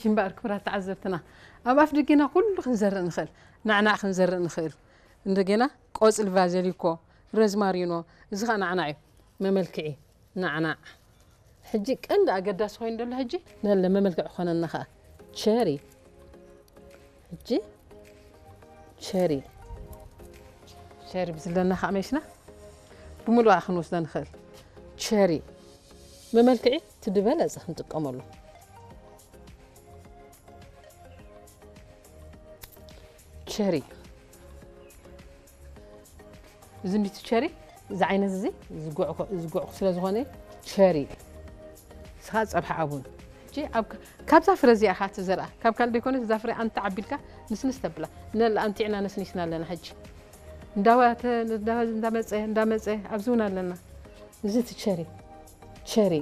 እምበኣር ክቡራት ተዓዘብትና፣ ኣብ ኣፍ ደገና ኩሉ ክንዘርእ ንኽእል። ናዕናዕ ክንዘርእ ንኽእል። እንደገና ቆጽሊ ቫዘሊኮ፣ ረዝማሪኖ፣ እዚ ኸኣ ናዕናዕ እዩ። መመልክዒ ናዕናዕ። ሕጂ ቀንዲ ኣገዳሲ ኮይኑ ዘሎ ሕጂ ነለ መመልክዒ ክኾነና ኸኣ ቸሪ። ሕጂ ቸሪ፣ ቸሪ ብዝለና ኸኣ መሽና ብምሉኣ ክንወስዶ ንኽእል። ቸሪ መመልክዒ እቲ ዝበለጸ ክንጥቀመሉ። ቸሪ፣ እዚ እንዲቲ ቸሪ፣ እዚ ዓይነት እዚ ዝጉዕ ኮ-፣ ዝጉዕ ስለ ዝኾነ ቸሪ። ንስኻ ጸብሒ ኣቡን። ሕጂ ኣብ ካ-፣ ካብዛ ፍረ እዚኣ ኢኻ ትዘርኣ። ካብ ካልእ ዘይኮነስ እዛ ፍረ ኣንቲ ዓቢልካ ንስንስ ተብላ። ነል ኣንቲዕና ነስኒስና ኣለና ሕጂ። እንዳዋ-፣ ተ-፣ እንዳ-፣ እንዳመጸ፣ እንዳመጸ፣ ኣብዚ እውን ኣለና። እዚ እቲ ቸሪ፣ ቸሪ።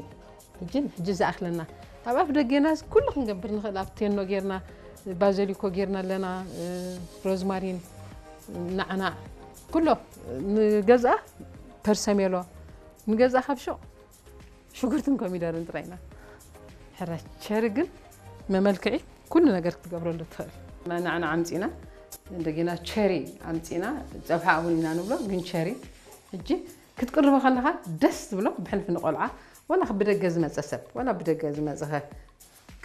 ሕጂ፣ ሕጂ ዝኣኽለና። ኣብ ኣፍ ደገና ኩሉ ክንገብር ንኽእል። ኣብ ቴኖ ጌርና፣ ባዘሊኮ ጌርና ኣለና፣ እ፣ ሮዝማሪን፣ ናዕናዕ። ኩሎ ንገዝኣ ፐርሰሜሎ፣ ንገዝኣ ካብ ሹቕ ሽጉርትን ኮሚደርን ጥራይ ኢና። ሕራይ ቸሪ ግን መመልክዒ ኩሉ ነገር ክትገብረሉ ትኽእል። ናዕናዕ ኣምጺና፣ እንደገና ቸሪ ኣምጺና፣ ጸብሓ እውን ኢና ንብሎ፣ ግን ቸሪ። ሕጂ ክትቅርቦ ከለኻ ደስ ዝብሎ ብሕልፊ ንቆልዓ፣ ዋላ ብደገ ዝመጸ ሰብ፣ ዋላ ብደገ ዝመጸኸ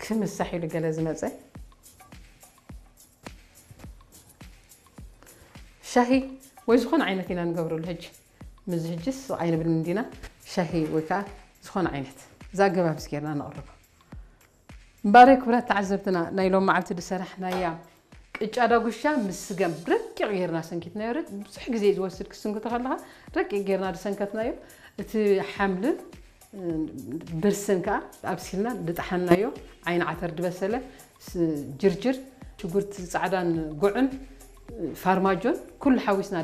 ክምሳሕ ኢሉ ገለ ዝመጸ፣ ሻሂ ወይ ዝኾነ ዓይነት ኢና ንገብረሉ። ሕጂ፣ ምስዚ ሕጂ ስቕ ኣይንብልን እንዲና፣ ሻሂ ወይ ከኣ ዝኾነ ዓይነት፣ እዛ ኣገባብ ጌርና ነቕርቦ። እምበኣር ክቡራት ተዓዘብትና፣ ናይ ሎም መዓልቲ ዝሰራሕናያ ቅጫ ዳጉሻ ምስ ስገም ረቂቕ ጌርና ሰንኪትናዮ። ረ-፣ ብዙሕ ግዜ እዩ ዝወስድ ክትስንክቶ ከለኻ፣ ረቂቕ ጌርና ዝሰንከትናዮ። እቲ ሓምልን፣ እ፣ ብርስን ከኣ ኣብሲልና ዝጠሓንናዮ፣ ዓይኒ ዓተር ዝበሰለ፣ ስ-፣ ጅርጅር፣ ሽጉርቲ ጻዕዳን ጉዕን፣ ፋርማጆን ኩሉ ሓዊስና